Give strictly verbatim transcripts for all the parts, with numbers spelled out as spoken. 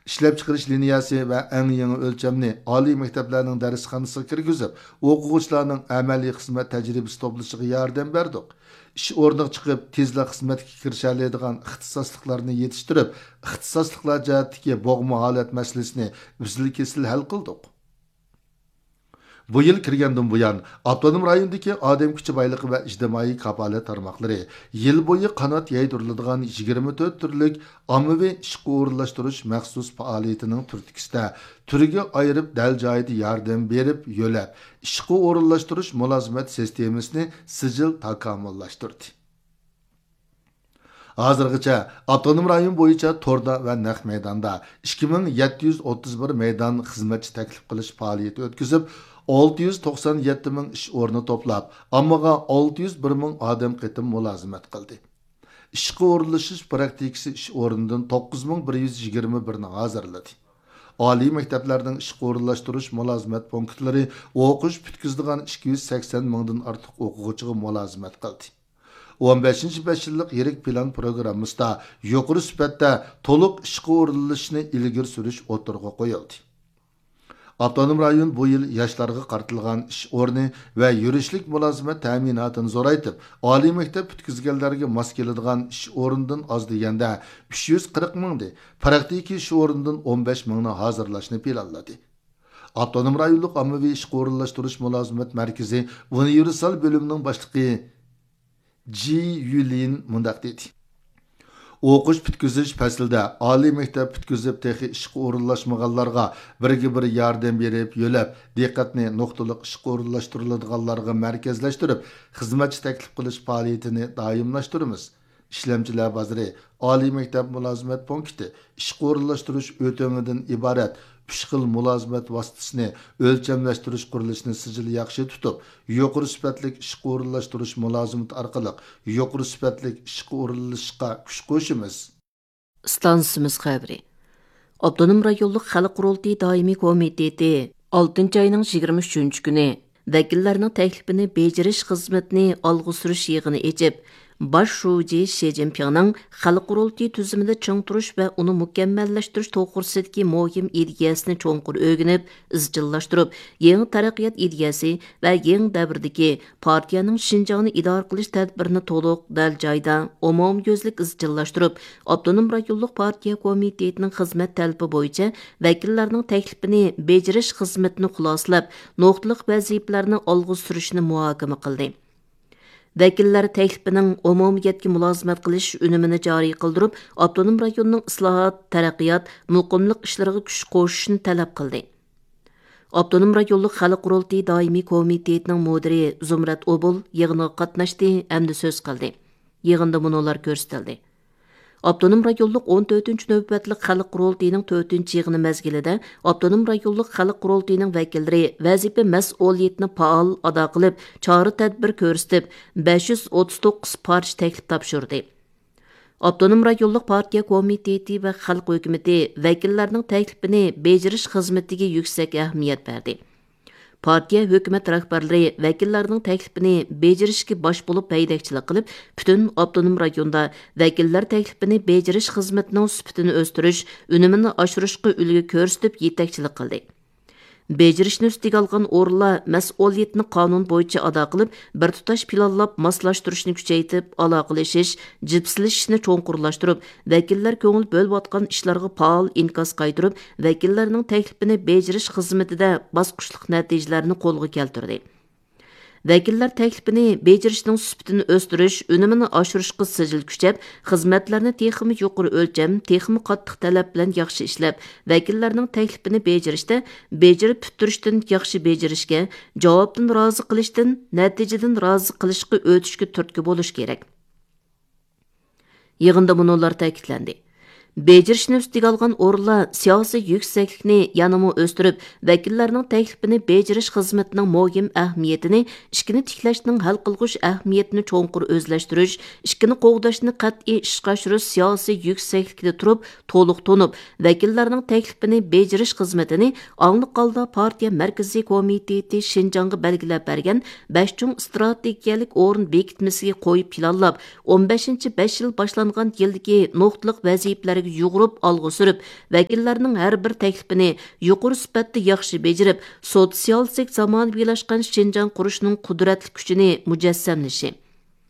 ئىشلەپچىقىرىش لىنىيەسى ۋە ئەڭ يېڭى ئۆلچەمنى ئالىي مەكتەپلەرنىڭ دەرسخانىسىغا كىرگۈزۈپ، ئوقۇغۇچىلارنىڭ ئەمەلىي خىزمەت تەجرىبىسى توپلىشىغا ياردەم بەردۇق. ئىش ئورنىغا چىقىپ، تېزلا خىزمەتكە كىرىشەلەيدىغان ئىختىساسلىقلارنى يېتىشتۈرۈپ، ئىختىساسلىقلار جەھەتتىكى بوغما ھالەت مەسىلىسىنى ئۈزۈل-كېسىل ھەل قىلدۇق. بۇ يىل كىرگەندىن بۇيان، ئاپتونوم رايوندىكى ئادەم كۈچى بايلىقى ۋە ئىجتىمائىي كاپالەت تارماقلىرى يىل بويى قانات يايدۇرۇلىدىغان يىگىرمە تۆت تۈرلۈك ئاممىۋى ئىشقا ئورۇنلاشتۇرۇش مەخسۇس پائالىيىتىنىڭ تۈرتكىسىدە، تۈرگە ئايرىپ، دەل جايىدا ياردەم بېرىپ، يۆلەپ، ئىشقا ئورۇنلاشتۇرۇش مۇلازىمەت سىستېمىسىنى سىجىل تاكامۇللاشتۇردى. ھازىرغىچە ئاپتونوم رايون بويىچە توردا ۋە نەق مەيداندا ئىككى مىڭ يەتتە يۈز ئوتتۇز بىر مەيدان خىزمەتچى تەكلىپ قىلىش پائالىيىتى ئۆتكۈزۈپ، ئالتە يۈز توقسان يەتتە مىڭ ئىش ئورنى توپلاپ، ئاممىغا ئالتە يۈز بىر مىڭ ئادەم قېتىم مۇلازىمەت قىلدى. ئىشقا ئورۇنلىشىش پراكتىكىسى ئىش ئورنىدىن توققۇز مىڭ بىر يۈز يىگىرمە بىرنى ھازىرلىدى. ئالىي مەكتەپلەرنىڭ ئىشقا ئورۇنلاشتۇرۇش مۇلازىمەت پونكىتلىرى ئوقۇش پۈتكۈزىدىغان ئىككى يۈز سەكسەن مىڭدىن ئارتۇق ئوقۇغۇچىغا مۇلازىمەت قىلدى. ئون بەشىنچى بەش يىللىق يىرىك پىلان پروگراممىسىدا يۇقىرى سۈپەتتە تولۇق ئىشقا ئورۇنلىشىشنى ئىلگىرى سۈرۈش ئوتتۇرىغا قويۇلدى. ئاپتونوم رايون بۇ يىل ياشلارغا قارىتىلغان ئىش ئورنى ۋە يۈرۈشلۈك مۇلازىمەت تەمىناتىنى زورايتىپ، ئالىي مەكتەپ پۈتكۈزگەنلەرگە ماس كېلىدىغان ئىش ئورنىدىن ئاز دېگەندە ئۈچ يۈز قىرىق مىڭدىن، پراكتىكا ئىش ئورنىدىن ئون بەش مىڭنى ھازىرلاشنى پىلانلىدى. ئاپتونوم رايونلۇق ئاممىۋى ئىشقا ئورۇنلاشتۇرۇش مۇلازىمەت مەركىزى ئۇنىۋېرسال بۆلۈمىنىڭ باشلىقى جى يۈلىن مۇنداق دېدى: ئوقۇش پۈتكۈزۈش پەسلىدە ئالىي مەكتەپ پۈتكۈزۈپ، تېخى ئىشقا ئورۇنلاشمىغانلارغا بىرگە بىر ياردەم بېرىپ، يۆلەپ، دىققەتنى نۇقتىلىق ئىشقا ئورۇنلاشتۇرۇلىدىغانلارغا مەركەزلەشتۈرۈپ، خىزمەتچى تەكلىپ قىلىش پائالىيىتىنى دائىملاشتۇرىمىز. ئىشلەمچىلەر بازىرى، ئالىي مەكتەپ مۇلازىمەت پونكىتى، ئىشقا ئورۇنلاشتۇرۇش ئۆتۈمىدىن ئىبارەت ئۈچ خىل مۇلازىمەت ۋاسىتىسىنى ئۆلچەملەشتۈرۈش قۇرۇلۇشىنى سىجىل ياخشى تۇتۇپ، يۇقىرى سۈپەتلىك ئىشقا ئورۇنلاشتۇرۇش مۇلازىمىتى ئارقىلىق يۇقىرى سۈپەتلىك ئىشقا ئورۇنلىشىشقا كۈچ قوشىمىز. ئىستانسىمىز خەۋىرى. ئاپتونوم رايونلۇق خەلق قۇرۇلتىيى دائىمىي كومىتېتى ئالتىنچى ئاينىڭ يىگىرمە ئۈچىنچى كۈنى ۋەكىللەرنىڭ تەكلىپىنى بېجىرىش خىزمىتىنى ئالغا سۈرۈش يىغىنى ئېچىپ، باش شۇجى شى جىنپىڭنىڭ خەلق قۇرۇلتىيى تۈزۈمىدە چىڭ تۇرۇش ۋە ئۇنى مۇكەممەللەشتۈرۈش توغرىسىدىكى مۇھىم ئىدىيەسىنى چوڭقۇر ئۆگىنىپ، ئىزچىللاشتۇرۇپ، يېڭى تەرەققىيات ئىدىيەسى ۋە يېڭى دەۋردىكى پارتىيەنىڭ شىنجاڭنى ئىدارە قىلىش تەدبىرىنى تولۇق، دەل جايدا، ئومۇميۈزلۈك ئىزچىللاشتۇرۇپ، ئاپتونوم رايونلۇق پارتىيە كومىتېتىنىڭ خىزمەت تەلىپى بويىچە ۋەكىللەرنىڭ تەكلىپىنى بېجىرىش خىزمىتىنى خۇلاسىلەپ، نۇقتىلىق ۋەزىپىلەرنى ئالغا سۈرۈشنى مۇھاكىمە قىلدى. ۋەكىللەر تەكلىپىنىڭ ئومۇمىيەتكە مۇلازىمەت قىلىش ئۈنۈمىنى جارى قىلدۇرۇپ، ئاپتونوم رايوننىڭ ئىسلاھات، تەرەققىيات، مۇقىملىق ئىشلىرىغا كۈچ قوشۇشنى تەلەپ قىلدى. ئاپتونوم رايونلۇق خەلق قۇرۇلتىيى دائىمىي كومىتېتىنىڭ مۇدىرى زۇمرەت ئوبۇل يىغىنغا قاتناشتى ھەمدە سۆز قىلدى. يىغىندا مۇنۇلار كۆرسىتىلدى. ئاپتونوم رايونلۇق ئون تۆتىنچى نۆۋەتلىك خەلق قۇرۇلتىيىنىڭ تۆتىنچى يىغىنى مەزگىلىدە ئاپتونوم رايونلۇق خەلق قۇرۇلتىيىنىڭ ۋەكىللىرى ۋەزىپە مەسئۇلىيىتىنى پائال ئادا قىلىپ، چارە تەدبىر كۆرسىتىپ، بەش يۈز ئوتتۇز توققۇز پارچە تەكلىپ تاپشۇردى. ئاپتونوم رايونلۇق پارتىيە كومىتېتى ۋە خەلق ھۆكۈمىتى ۋەكىللەرنىڭ تەكلىپىنى بېجىرىش خىزمىتىگە يۈكسەك ئەھمىيەت بەردى. پارتىيە، ھۆكۈمەت رەھبەرلىرى ۋەكىللەرنىڭ تەكلىپىنى بېجىرىشكە باش بولۇپ ھەيدەكچىلىك قىلىپ، پۈتۈن ئاپتونوم رايوندا ۋەكىللەر تەكلىپىنى بېجىرىش خىزمىتىنىڭ سۈپىتىنى ئۆستۈرۈش، ئۈنۈمىنى ئاشۇرۇشقا ئۈلگە كۆرسىتىپ يېتەكچىلىك قىلدى. بېجىرىشنى ئۈستىگە ئالغان ئورۇنلار مەسئۇلىيىتىنى قانۇن بويىچە ئادا قىلىپ، بىر تۇتاش پىلانلاپ ماسلاشتۇرۇشنى كۈچەيتىپ، ئالاقىلىشىش، جىپسىلىشىشنى چوڭقۇرلاشتۇرۇپ، ۋەكىللەر كۆڭۈل بۆلۈۋاتقان ئىشلارغا پائال ئىنكاس قايتۇرۇپ، ۋەكىللەرنىڭ تەكلىپىنى بېجىرىش خىزمىتىدە باسقۇچلۇق نەتىجىلەرنى قولغا كەلتۈردى. ۋەكىللەر تەكلىپىنى بېجىرىشنىڭ سۈپىتىنى ئۆستۈرۈش، ئۈنۈمىنى ئاشۇرۇشقا سىجىل كۈچەپ، خىزمەتلەرنى تېخىمۇ يۇقىرى ئۆلچەم، تېخىمۇ قاتتىق تەلەپ بىلەن ياخشى ئىشلەپ، ۋەكىللەرنىڭ تەكلىپىنى بېجىرىشتە بېجىرىپ پۈتتۈرۈشتىن ياخشى بېجىرىشكە، جاۋابتىن رازى قىلىشتىن نەتىجىدىن رازى قىلىشقا ئۆتۈشكە تۈرتكە بولۇش كېرەك. يىغىندا مۇنۇلار تەكىتلەندى. بېجىرىشنى ئۈستىگە ئالغان ئورۇنلار سىياسىي يۈكسەكلىكنى يەنىمۇ ئۆستۈرۈپ، ۋەكىللەرنىڭ تەكلىپىنى بېجىرىش خىزمىتىنىڭ مۇھىم ئەھمىيىتىنى، ئىككىنى تىكلەشنىڭ ھەل قىلغۇچ ئەھمىيىتىنى چوڭقۇر ئۆزلەشتۈرۈش، ئىككىنى قوغداشنى قەتئىي ئىشقا ئاشۇرۇش سىياسىي يۈكسەكلىكىدە تۇرۇپ، تولۇق تونۇپ، ۋەكىللەرنىڭ تەكلىپىنى بېجىرىش خىزمىتىنى ئاڭلىق ھالدا پارتىيە مەركىزىي كومىتېتى شىنجاڭغا بەلگىلەپ بەرگەن بەش چوڭ ئىستراتېگىيەلىك ئورۇن بېكىتمىسىگە قويۇپ پىلانلاپ، ئون بەشىنچى بەش يىل باشلانغان يىلدىكى نۇقتىلىق ۋەزىپىلەرگە يۇغۇرۇپ ئالغا سۈرۈپ، ۋەكىللەرنىڭ ھەر بىر تەكلىپىنى يۇقىرى سۈپەتتە ياخشى بېجىرىپ، سوتسىيالىستىك زامانىۋىلاشقان شىنجاڭ قۇرۇشنىڭ قۇدرەتلىك كۈچىنى مۇجەسسەملىشى،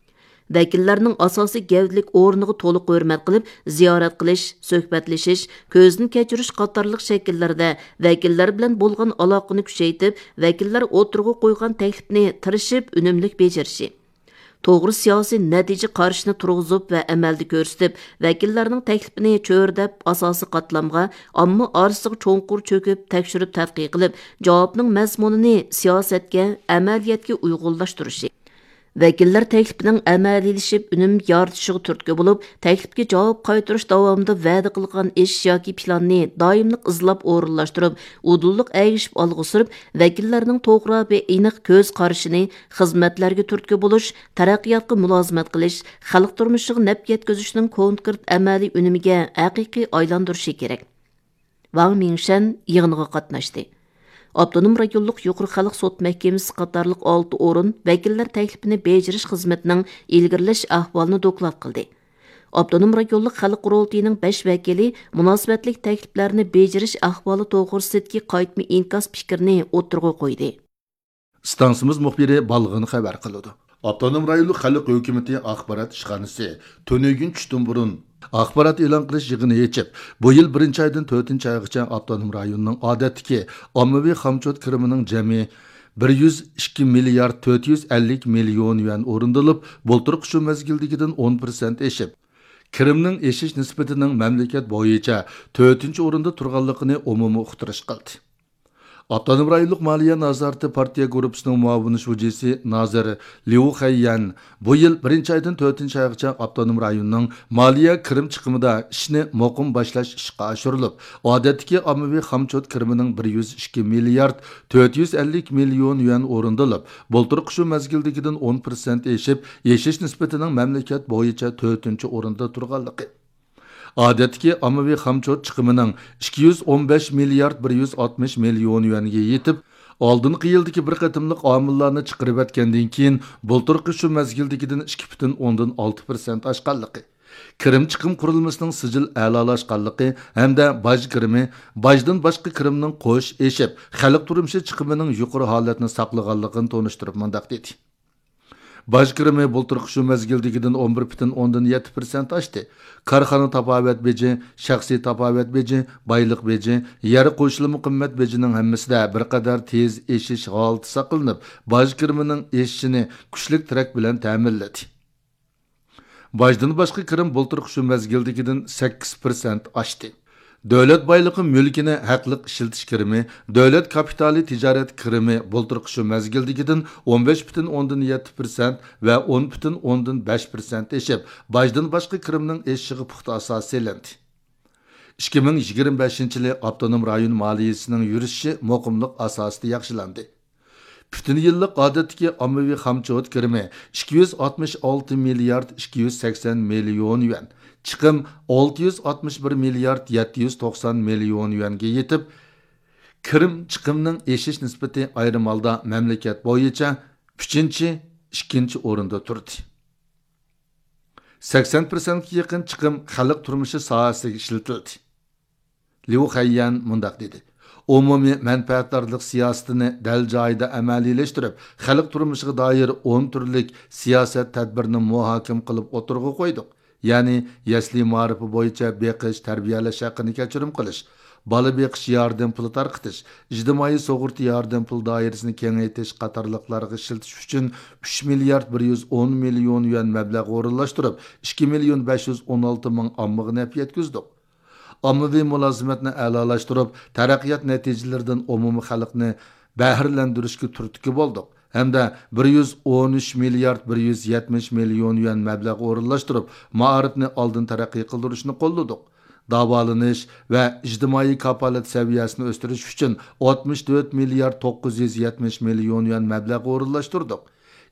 ۋەكىللەرنىڭ ئاساسىي گەۋدىلىك ئورنىغا تولۇق ھۆرمەت قىلىپ، زىيارەت قىلىش، سۆھبەتلىشىش، كۆزدىن كەچۈرۈش قاتارلىق شەكىللەردە ۋەكىللەر بىلەن بولغان ئالاقىنى كۈچەيتىپ، ۋەكىللەر ئوتتۇرىغا قويغان تەكلىپنى تىرىشىپ ئۈنۈملۈك بېجىرىشى، توغرا سىياسىي نەتىجە قارىشىنى تۇرغۇزۇپ ۋە ئەمەلدە كۆرسىتىپ، ۋەكىللەرنىڭ تەكلىپىنى چۆرىدەپ، ئاساسىي قاتلامغا، ئامما ئارىسىغا چوڭقۇر چۆكۈپ، تەكشۈرۈپ تەتقىق قىلىپ، جاۋابنىڭ مەزمۇنىنى سىياسەتكە، ئەمەلىيەتكە ئۇيغۇنلاشتۇرۇشى، ۋەكىللەر تەكلىپىنىڭ ئەمەلىيلىشىپ ئۈنۈم يارىتىشىغا تۈرتكە بولۇپ، تەكلىپكە جاۋاب قايتۇرۇش داۋامىدا ۋەدە قىلغان ئىش ياكى پىلاننى دائىملىق ئىزلاپ ئورۇنلاشتۇرۇپ، ئۇدۇللۇق ئەگىشىپ ئالغا سۈرۈپ، ۋەكىللەرنىڭ توغرا ۋە ئېنىق كۆز قارىشىنى، خىزمەتلەرگە تۈرتكە بولۇش، تەرەققىياتقا مۇلازىمەت قىلىش، خەلق تۇرمۇشىغا نەپ يەتكۈزۈشنىڭ كونكرېت ئەمەلىي ئۈنۈمىگە ھەقىقىي ئايلاندۇرۇشى كېرەك. ۋاڭ مىڭشەن يىغىنغا قاتناشتى. ئاپتونوم رايونلۇق يۇقىرى خەلق سوت مەھكىمىسى قاتارلىق ئالتە ئورۇن ۋەكىللەر تەكلىپىنى بېجىرىش خىزمىتىنىڭ ئىلگىرىلەش ئەھۋالىنى دوكلات قىلدى. ئاپتونوم رايونلۇق خەلق قۇرۇلتىيىنىڭ بەش ۋەكىلى مۇناسىۋەتلىك تەكلىپلەرنى بېجىرىش ئەھۋالى توغرىسىدىكى قايتما ئىنكاس پىكرىنى ئوتتۇرىغا قويدى. ئىستانسىمىز مۇخبىرى بالغىن خەۋەر قىلىدۇ. ئاپتونوم رايونلۇق خەلق ھۆكۈمىتى ئاخبارات ئىشخانىسى تۈنۈگۈن چۈشتىن بۇرۇن ئاخبارات ئېلان قىلىش يىغىنى ئېچىپ، بۇ يىل بىرىنچى ئايدىن تۆتىنچى ئايغىچە ئاپتونوم رايوننىڭ ئادەتتىكى ئاممىۋى خامچوت كىرىمىنىڭ جەمئىي بىر يۈز ئىككى مىليارد تۆت يۈز ئەللىك مىليون يۈەن ئورۇندىلىپ، بۇلتۇرقى شۇ مەزگىلدىكىدىن ئون پىرسەنت ئېشىپ، كىرىمنىڭ ئېشىش نىسبىتىنىڭ مەملىكەت بويىچە تۆتىنچى ئورۇندا تۇرغانلىقىنى ئومۇمىي ئۇقتۇرۇش قىلدى. ئاپتونوم رايونلۇق مالىيە نازارىتى پارتىيە گۇرۇپپىسىنىڭ مۇئاۋىن شۇجىسى نازىر ليۇ خەييەن بۇ يىل بىرىنچى ئايدىن تۆتىنچى ئايغىچە ئاپتونوم رايوننىڭ مالىيە كىرىم چىقىمىدا ئىشنى مۇقىم باشلاش ئىشقا ئاشۇرۇلۇپ، ئادەتتىكى ئاممىۋى خامچوت كىرىمىنىڭ بىر يۈز ئىككى مىليارد تۆت يۈز ئەللىك مىليون يۈەن ئورۇندىلىپ، بۇلتۇرقى شۇ مەزگىلدىكىدىن ئون پىرسەنت ئېشىپ، ئېشىش نىسبىتىنىڭ مەملىكەت بويىچە تۆتىنچى ئورۇندا تۇرغانلىقى، ئادەتتىكى ئاممىۋى خامچوت چىقىمىنىڭ ئىككى يۈز ئون بەش مىليارد بىر يۈز ئاتمىش مىليون يۈەنگە يېتىپ، ئالدىنقى يىلدىكى بىر قېتىملىق ئامىللارنى چىقىرىۋەتكەندىن كېيىن، بۇلتۇرقى شۇ مەزگىلدىكىدىن ئىككى پۈتۈن ئوندىن ئالتە پىرسەنت ئاشقانلىقى، كىرىم چىقىم قۇرۇلمىسىنىڭ سىجىل ئەلالاشقانلىقى ھەمدە باج كىرىمى، باجدىن باشقا كىرىمنىڭ قوش ئېشىپ، خەلق تۇرمۇشى چىقىمىنىڭ يۇقىرى ھالەتنى ساقلىغانلىقىنى تونۇشتۇرۇپ مۇنداق دېدى. باج كىرىمى بۇلتۇرقى شۇ مەزگىلدىكىدىن ئون بىر پۈتۈن ئوندىن يەتتە پىرسەنت ئاشتى. كارخانا تاپاۋەت بېجى، شەخسىي تاپاۋەت بېجى، بايلىق بېجى، يەر قوشۇلما قىممەت بېجىنىڭ ھەممىسىدە بىر قەدەر تېز ئېشىش ھالىتى ساقلىنىپ، باج كىرىمىنىڭ ئېشىشىنى كۈچلۈك تىرەك بىلەن تەمىنلىدى. باجدىن باشقا كىرىم بۇلتۇرقى شۇ مەزگىلدىكىدىن سەككىز پىرسەنت ئاشتى. دۆلەت بايلىقى مۈلكىنى ھەقلىق ئىشلىتىش كىرىمى، دۆلەت كاپىتالى تىجارەت كىرىمى بۇلتۇرقى شۇ مەزگىلدىكىدىن ئون بەش پۈتۈن ئوندىن يەتتە پىرسەنت ۋە ئون پۈتۈن ئوندىن بەش پىرسەنت ئېشىپ، باجدىن باشقا كىرىمنىڭ ئېشىشىغا پۇختا ئاساس سېلىندى. ئىككى مىڭ يىگىرمە بەشىنچى يىلى ئاپتونوم رايون مالىيىسىنىڭ يۈرۈشۈشى مۇقىملىق ئاساسىدا ياخشىلاندى. پۈتۈن يىللىق ئادەتتىكى ئاممىۋى خامچوت كىرىمى ئىككى يۈز ئاتمىش ئالتە مىليارد ئىككى يۈز سەكسەن مىليون يۈەن، چىقىم ئالتە يۈز ئاتمىش بىر مىليارد يەتتە يۈز توقسان مىليون يۈەنگە يېتىپ، كىرىم چىقىمنىڭ ئېشىش نىسبىتى ئايرىم ھالدا مەملىكەت بويىچە ئۈچىنچى، ئىككىنچى ئورۇندا تۇردى. سەكسەن پىرسەنتكە يېقىن چىقىم خەلق تۇرمۇشى ساھەسىگە ئىشلىتىلدى. ليۇ خەييەن مۇنداق دېدى: ئومۇمىي مەنپەئەتدارلىق سىياسىتىنى دەل جايىدا ئەمەلىيلەشتۈرۈپ، خەلق تۇرمۇشىغا دائىر ئون تۈرلۈك سىياسەت تەدبىرنى مۇھاكىمە قىلىپ ئوتتۇرىغا قويدۇق. يەنى يەسلى مائارىپى بويىچە بېقىش، تەربىيەلەش ھەققىنى كەچۈرۈم قىلىش، بالا بېقىش ياردەم پۇلى تارقىتىش، ئىجتىمائىي سۇغۇرتا ياردەم پۇلى دائىرىسىنى كېڭەيتىش قاتارلىقلارغا ئىشلىتىش ئۈچۈن ئۈچ مىليارد بىر يۈز ئون مىليون يۈەن مەبلەغ ئورۇنلاشتۇرۇپ، ئىككى مىليون بەش يۈز ئون ئالتە مىڭ ئاممىغا نەپ يەتكۈزدۇق. ئاممىۋى مۇلازىمەتنى ئەلالاشتۇرۇپ، تەرەققىيات نەتىجىلىرىدىن ئومۇمىي خەلقنى بەھرىلەندۈرۈشكە تۈرتكە بولدۇق ھەمدە بىر يۈز ئون ئۈچ مىليارد بىر يۈز يەتمىش مىليون يۈەن مەبلەغ ئورۇنلاشتۇرۇپ، مائارىپنى ئالدىن تەرەققىي قىلدۇرۇشنى قوللىدۇق. داۋالىنىش ۋە ئىجتىمائىي كاپالەت سەۋىيەسىنى ئۆستۈرۈش ئۈچۈن ئاتمىش تۆت مىليارد توققۇز يۈز يەتمىش مىليون يۈەن مەبلەغ ئورۇنلاشتۇردۇق.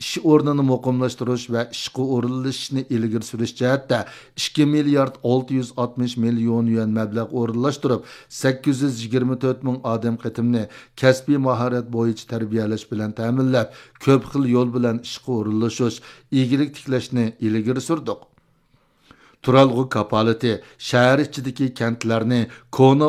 ئىش ئورنىنى مۇقىملاشتۇرۇش ۋە ئىشقا ئورۇنلىشىشنى ئىلگىرى سۈرۈش جەھەتتە ئىككى مىليارد ئالتە يۈز ئاتمىش مىليون يۈەن مەبلەغ ئورۇنلاشتۇرۇپ، سەككىز يۈز يىگىرمە تۆت مىڭ ئادەم قېتىمنى كەسپىي ماھارەت بويىچە تەربىيەلەش بىلەن تەمىنلەپ، كۆپ خىل يول بىلەن ئىشقا ئورۇنلىشىش، ئىگىلىك تىكلەشنى ئىلگىرى سۈردۇق. تۇرالغۇ كاپالىتى شەھەر ئىچىدىكى كەنتلەرنى كونا